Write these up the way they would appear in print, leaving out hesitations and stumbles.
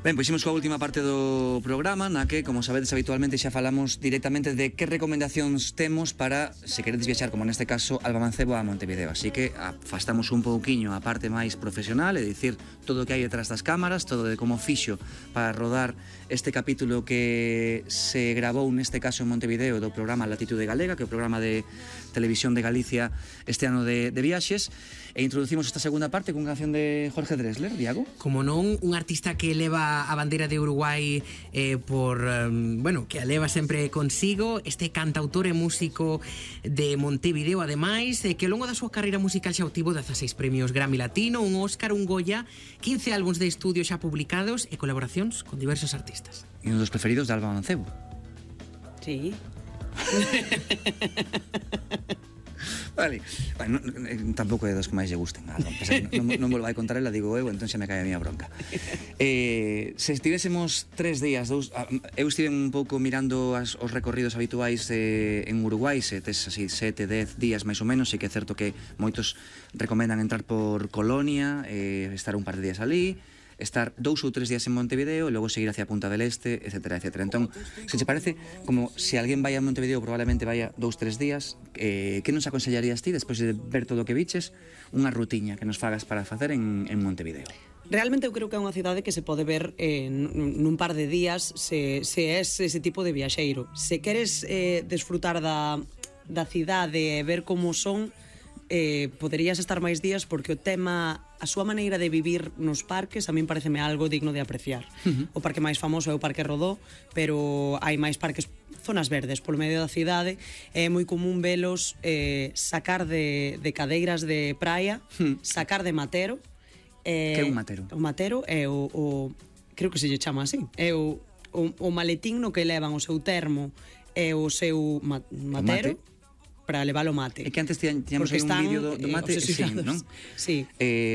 Ben, pois imos coa última parte do programa, na que, como sabedes habitualmente, xa falamos directamente de que recomendacións temos para, se queredes viaxar, como neste caso, Alba Mancebo a Montevideo. Así que afastamos un pouquiño a parte máis profesional, é dicir, todo o que hai detrás das cámaras, todo de como fixo para rodar este capítulo que se grabou neste caso en Montevideo do programa Latitude Galega, que é o programa de televisión de Galicia este ano de viaxes, e introducimos esta segunda parte cunha canción de Jorge Drexler, Diago. Como non, un artista que leva a bandeira de Uruguai que a leva sempre consigo, este cantautor e músico de Montevideo, ademais, que ao longo da súa carreira musical xa obtivo 16 premios Grammy Latino, un Óscar, un Goya, 15 álbuns de estudio xa publicados e colaboracións con diversos artistas. E un dos preferidos de Alba Mancebo. Sí. Vale, bueno, tampouco é dos que máis lle gusten nada, non volvo a contar ela, digo eu, entón xa me cae a miña bronca. Se estivésemos 3 días, eu estive un pouco mirando os recorridos habituais en Uruguai, se tes así 7, 10 días máis ou menos, e que é certo que moitos recomendan entrar por Colonia, estar un par de días ali, estar 2 ou 3 días en Montevideo e logo seguir hacia Punta del Este, etcétera, etcétera. Entón, se te parece, como se alguén vai a Montevideo probablemente vaya 2, 3 días, que nos aconsellarías ti, despois de ver todo o que viches, unha rutiña que nos fagas para facer en Montevideo? Realmente eu creo que é unha cidade que se pode ver nun par de días se és ese tipo de viaxeiro. Se queres desfrutar da cidade e ver como son, poderías estar máis días, porque o tema, a súa maneira de vivir nos parques a min pareceme algo digno de apreciar. O parque máis famoso é o Parque Rodó, pero hai máis parques, zonas verdes polo medio da cidade. É moi común velos sacar de cadeiras de praia, sacar de matero. Que é un matero? O matero é o creo que se lle chama así, é o maletín no que levan o seu termo e o seu matero para levar o mate. É que antes tiñamos un vídeo do mate, non? Sí.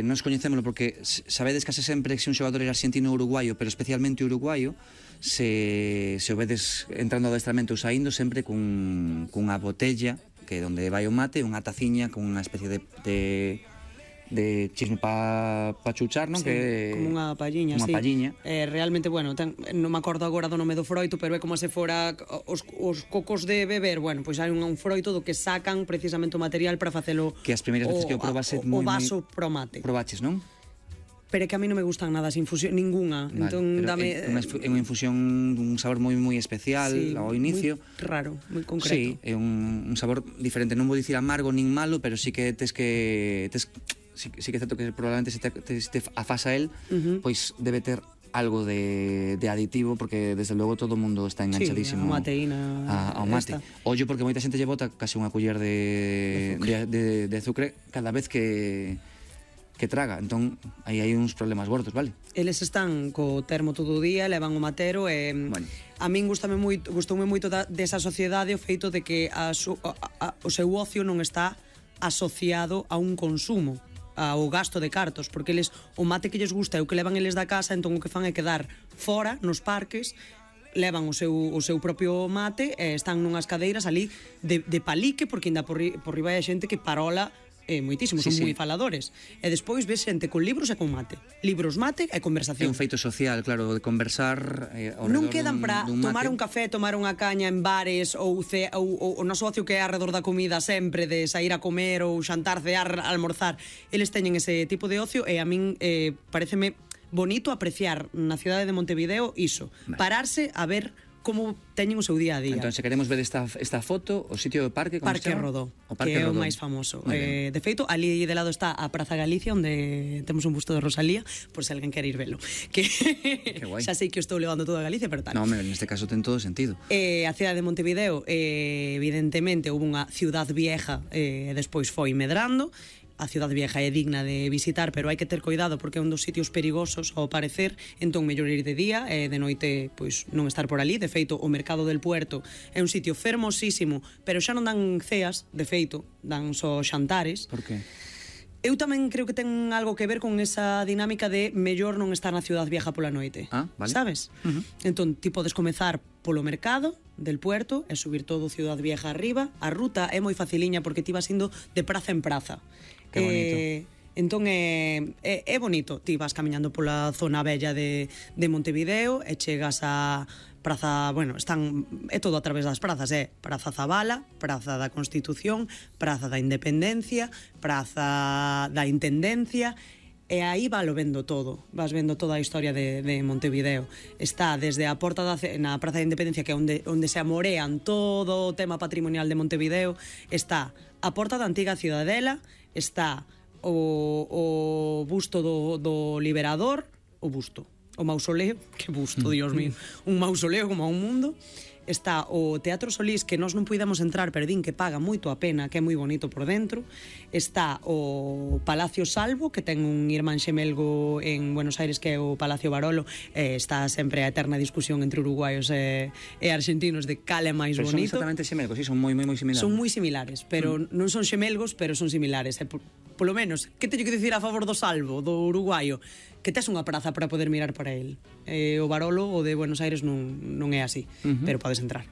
Nos coñecémolo porque sabedes case sempre que se un xogador é argentino ou uruguaio, pero especialmente uruguaio, se o vedes entrando ao adestramento ou saindo, sempre cunha botella, que é onde vai o mate, unha taciña con unha especie de chisme pa chuchar, non? Sí, que como unha palliña, sí. Palliña. Realmente, bueno, non me acordo agora do nome do froito, pero é como se fora os cocos de beber. Bueno, pois hai un froito do que sacan precisamente o material para facelo. Que as primeiras veces que o probase o vaso pro mate. Probaches, non? Pero é que a mí non me gustan nada as infusión, ninguna. Vale, entón, dame é unha infusión dun sabor moi especial, sí, ao inicio. Moi raro, moi concreto. Sí, é un sabor diferente, non vou dicir amargo nin malo, pero sí que sí que é certo que probablemente se te afasa el, pois debe ter algo de aditivo, porque desde logo todo o mundo está enganchadísimo ao mate. Ollo, porque moita xente lle bota case unha culler de azúcar cada vez que traga, entón aí hai uns problemas gordos, vale? Eles están co termo todo o día, levan o matero e bueno, a min gustoume moito desa sociedade o feito de que o seu ocio non está asociado a un consumo, ao gasto de cartos, porque eles o mate que lles gusta é o que levan eles da casa, entón o que fan é quedar fora nos parques, levan o seu propio mate e están nunhas cadeiras ali de palique, porque ainda por riba hai xente que parola moitísimo, son moi faladores. E despois ves xente con libros e con mate. Libros, mate e conversación. É un feito social, claro, de conversar non quedan para tomar un café, tomar unha caña en bares ou o noso ocio que é alrededor da comida sempre, de sair a comer ou xantar, cear, almorzar. Eles teñen ese tipo de ocio e a min pareceme bonito apreciar na cidade de Montevideo iso, pararse a ver como teñen o seu día a día. Entón, se queremos ver esta foto, o sitio do parque, como Parque Rodó, que é o máis famoso. De feito, ali de lado está a Praza Galicia, onde temos un busto de Rosalía, por se alguén quere ir velo. Que xa sei que eu estou levando toda Galicia, pero tal. Non, neste caso ten todo sentido. A cidade de Montevideo, evidentemente, houve unha ciudad vieja e despois foi medrando. A Cidade Vieja é digna de visitar, pero hai que ter cuidado porque é un dos sitios perigosos ao parecer, entón mellor ir de día e de noite pois non estar por ali. De feito, o Mercado del Puerto é un sitio fermosísimo, pero xa non dan ceas, de feito, dan só xantares. Por que? Eu tamén creo que ten algo que ver con esa dinámica de mellor non estar na Cidade Vieja pola noite. Vale. Sabes? Entón, ti podes comezar polo Mercado del Puerto e subir todo Cidade Vieja arriba. A ruta é moi faciliña porque ti vas indo de praza en praza. Que bonito. Entón é bonito, ti vas camiñando pola zona bella de Montevideo e chegas a Praza, bueno, é todo a través das prazas, Praza Zabala, Praza da Constitución, Praza da Independencia, Praza da Intendencia, e aí valo vendo todo, vas vendo toda a historia de Montevideo. Está desde a porta na Praza da Independencia, que é onde se amorean todo o tema patrimonial de Montevideo, está a porta da antiga Ciudadela, está o busto do Liberador, o mausoleo, que busto, Dios mío, un mausoleo como a un mundo. Está o Teatro Solís, que nós non puidamos entrar, pero din que paga moito a pena, que é moi bonito por dentro. Está o Palacio Salvo, que ten un irmán xemelgo en Buenos Aires, que é o Palacio Barolo. Está sempre a eterna discusión entre uruguaios e argentinos de cal é máis bonito. Pero son exactamente xemelgos, sí, son moi similares. Son moi similares, pero non son xemelgos, pero son similares. Polo menos, que teño que dicir a favor do Salvo, do uruguaio? Que tes unha praza para poder mirar para el. O Barolo, o de Buenos Aires, non é así, pero podes entrar.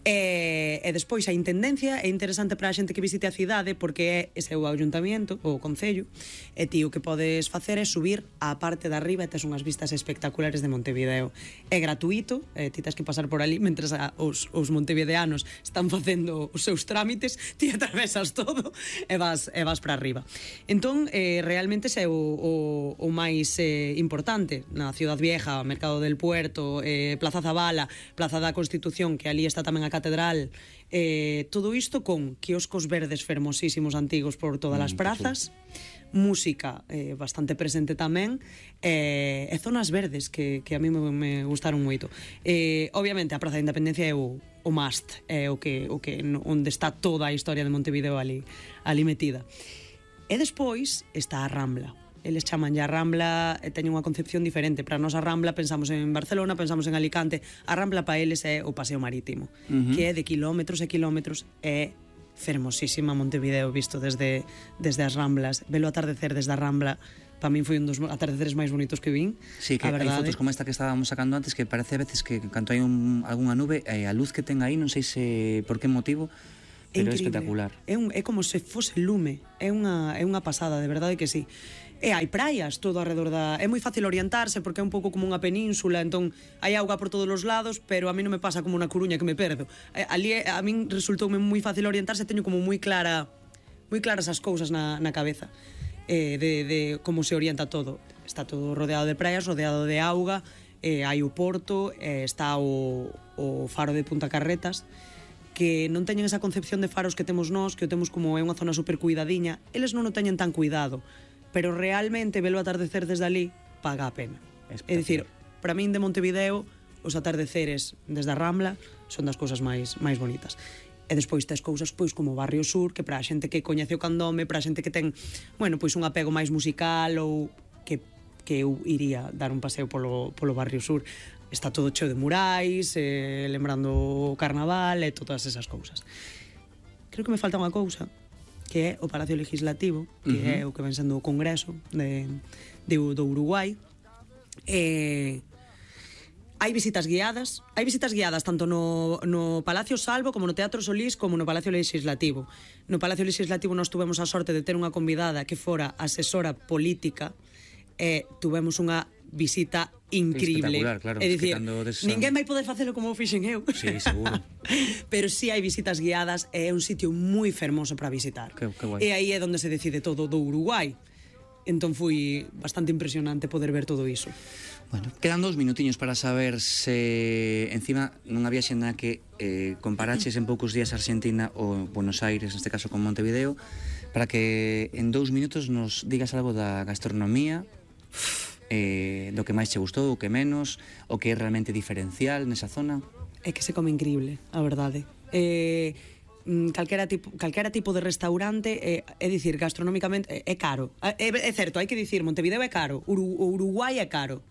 E despois a Intendencia é interesante para a xente que visite a cidade, porque ese é o ayuntamiento, o concello, e ti o que podes facer é subir á parte de arriba e tes unhas vistas espectaculares de Montevideo. É gratuito, ti tes que pasar por ali mentres os montevideanos están facendo os seus trámites, ti atravesas todo e vas para arriba. Entón, realmente ese é o máis importante na Ciudad Vieja, Mercado del Puerto, Plaza Zabala, Plaza da Constitución, que ali está tamén a catedral, todo isto con quioscos verdes fermosísimos antigos por todas as prazas, música bastante presente tamén, e zonas verdes que a mí me gustaron moito. Obviamente a Praza da Independencia é o must, é onde está toda a historia de Montevideo ali metida. E despois está a Rambla. Eles chaman a Rambla, teñen unha concepción diferente. Para nós a Rambla pensamos en Barcelona, pensamos en Alicante. A Rambla para eles é o paseo marítimo, que é de kilómetros e kilómetros, é fermosísima Montevideo visto desde as Ramblas. Velo atardecer desde a Rambla, para min foi un dos atardeceres máis bonitos que vin. Sí, que hai fotos como esta que estábamos sacando antes, que parece a veces que cando hai algunha nube, a luz que ten aí, non sei se por que motivo, pero é espectacular. É como se fose lume, é unha pasada, de verdade que sí. E hai praias todo alrededor da... É moi fácil orientarse porque é un pouco como unha península, entón hai auga por todos os lados, pero a mí non me pasa como na Coruña que me perdo. Ali a min resultoume moi fácil orientarse, teño como moi claras as cousas na cabeza de como se orienta todo. Está todo rodeado de praias, rodeado de auga, hai o porto, está o faro de Punta Carretas, que non teñen esa concepción de faros que temos nós, que o temos como é unha zona super cuidadiña. Eles non o teñen tan cuidado, pero realmente velo atardecer desde ali paga a pena. É dicir, para min de Montevideo os atardeceres desde a Rambla son das cousas máis bonitas. E despois tes cousas pois como o Barrio Sur, que para a xente que coñece o Candome, para a xente que ten, bueno, pois un apego máis musical ou que eu iría dar un paseo polo Barrio Sur. Está todo cheo de murais, lembrando o Carnaval e todas esas cousas. Creo que me falta unha cousa, que é o Palacio Legislativo, que é o que ven sendo o Congreso do Uruguai. Hai visitas guiadas tanto no Palacio Salvo como no Teatro Solís como no Palacio Legislativo. No Palacio Legislativo nós tuvemos a sorte de ter unha convidada que fora asesora política e tuvemos unha visita increíble. Claro. É dicir, ninguén vai poder facelo como o fixen eu. Sí, seguro. Pero sí hai visitas guiadas e é un sitio moi fermoso para visitar. Que guai. E aí é onde se decide todo do Uruguai. Entón foi bastante impresionante poder ver todo iso. Bueno, quedan 2 minutiños para saber se encima nunha viaxe na que comparaches en poucos días Argentina ou Buenos Aires, neste caso con Montevideo, para que en 2 minutos nos digas algo da gastronomía, do que máis che gustou, o que menos, o que é realmente diferencial nesa zona. É que se come increíble, a verdade. Calquera tipo de restaurante, é dicir, gastronómicamente é caro. É certo, hai que dicir, Montevideo é caro, o Uruguai é caro.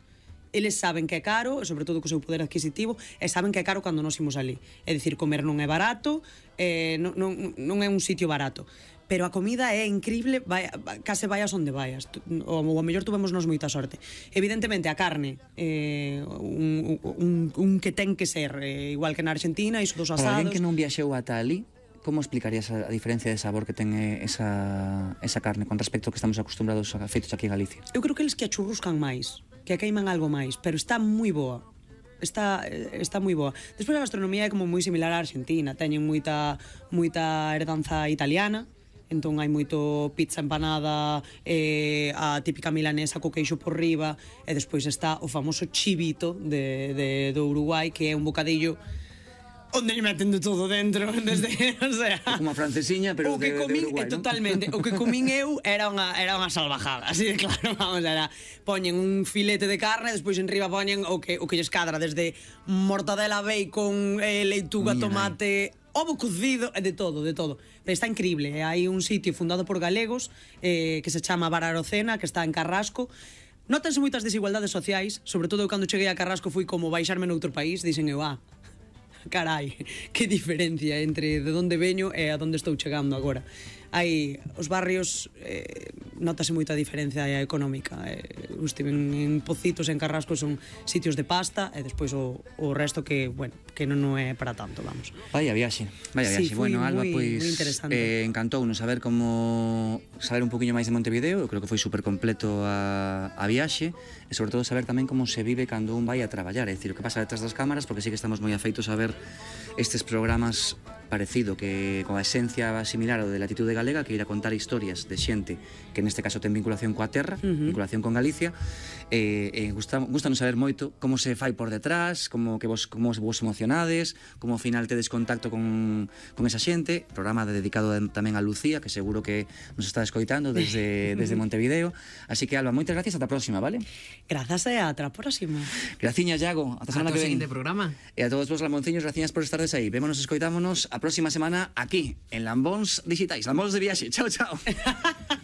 Eles saben que é caro, sobre todo co seu poder adquisitivo, e saben que é caro cando nos imos ali. É dicir, comer non é barato, non é un sitio barato. Pero a comida é increíble, case vayas onde vayas. O a mellor tuvemos nos moita sorte. Evidentemente, a carne, un que ten que ser, igual que na Argentina, iso dos asados. Para alguén que non viaxeu ata ali, como explicarías a diferencia de sabor que ten esa carne con respecto ao que estamos acostumbrados a feitos aquí en Galicia? Eu creo que eles que a churruscan máis, que a queiman algo máis, pero está moi boa. Está moi boa. Despois a gastronomía é como moi similar á Argentina, teñen moita herdanza italiana, entón hai moito pizza empanada, a típica milanesa co queixo por riba, e despois está o famoso chivito do Uruguai, que é un bocadillo onde lle meten de todo dentro, desde, o sea, como a francesiña, pero o que comín, Uruguai, ¿no? Totalmente, o que comín eu era unha salvajada, así de claro, vamos, era, poñen un filete de carne, despois en riba poñen o que lles cadra, desde mortadela, bacon, leituga, tomate, ovo cocido, de todo. Pero está increíble, hai un sitio fundado por galegos que se chama Bar Arocena, que está en Carrasco. Nótanse moitas desigualdades sociais, sobre todo cando cheguei a Carrasco fui como baixarme noutro país, dixen eu, carai, que diferencia entre de onde veño e a onde estou chegando agora. Hai os barrios, notase moita diferencia económica. Estiven en Pocitos, en Carrasco, son sitios de pasta, e despois o resto que, bueno, que non é para tanto, vamos. Vaya viaxe. Sí, Bueno, Alba, pois encantounos saber un poquinho máis de Montevideo. Eu creo que foi super completo a viaxe, e sobre todo saber tamén como se vive cando un vai a traballar, é dicir, o que pasa detrás das cámaras, porque sí que estamos moi afeitos a ver estes programas parecido, que con a esencia similar ao de Latitude Galega, que ir a contar historias de xente que neste caso ten vinculación coa terra, vinculación con Galicia, gustanos saber moito como se fai por detrás, como vos emocionades, como ao final tedes contacto con esa xente. Programa dedicado tamén a Lucía, que seguro que nos está escoitando desde Montevideo. Así que, Alba, moitas gracias, ata a próxima, vale? Grazas e ata a próxima. Graciñas, Iago, ata a semana que ven. Ata o seguinte programa. E a todos vos lamonciños, gracias por estardes aí. Vémonos, escoitámonos a próxima semana aquí, en Lambóns Digitais, Lambóns de Viaxe. Chao, chao.